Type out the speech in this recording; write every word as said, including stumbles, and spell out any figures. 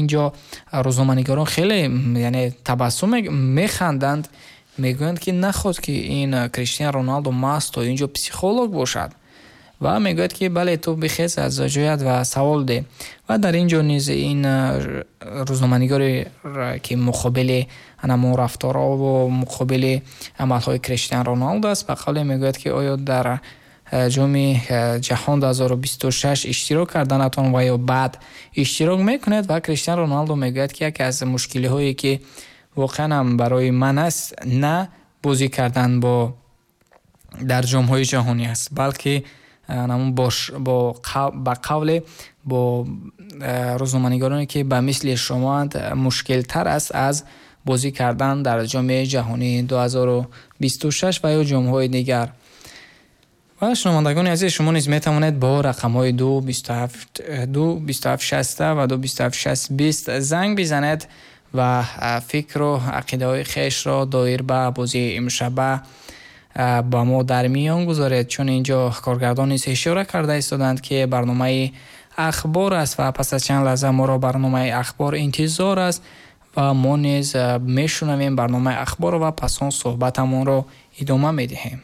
Инҷо рӯзноманигорон хеле, яъне, табассум механданд, мегӯянд, ки нахост, ки ин Криштиан Роналдо маст то инҷо психолог бошад. Ва мегӯяд, ки бале, ту бихез аз ҷоят ва савол деҳ. Ва дар ин ҷо низ ин рӯзноманигоре, ки муқобили ҳамон рафторҳо ва муқобили амалҳои Криштиан Роналдо аст, ба қавле мегӯяд, ки оё дар ҷоми ҷаҳон ду ҳазору бисту шаш иштирок карданатон ва ё баъд иштирок мекунед? Ва Криштиан Роналдо мегӯяд, ки яке аз мушкилиҳое, ки воқеан ҳам барои ман аст, на бозӣ кардан бо дар ҷомҳои ҷаҳонӣ аст, балки ҳамон бош, бо қав-, ба қавле бо рӯзноманигороне, ки ба мисли шумоанд, мушкилтар аст аз бозӣ кардан дар ҷоми ҷаҳонии ду ҳазору бисту шаш ва ё ҷомҳои дигар. Ва шунавандагони азиз, шумо низ метавонед бо рақамҳои ду бисту ҳафт, ду бисту ҳафт шаст ва ду бисту ҳафт шаст бист занг бизанед ва фикру ақидаҳои хешро доир ба бозии имшаба ба мо дар миён гузоред, чун инҷо коргардон низ ишора карда истоданд, ки барномаи ахбор аст ва пас аз чанд лаҳза моро барномаи ахбор интизор аст ва мо низ мешунавем барномаи ахбор ва пас он суҳбатамонро идома медиҳем.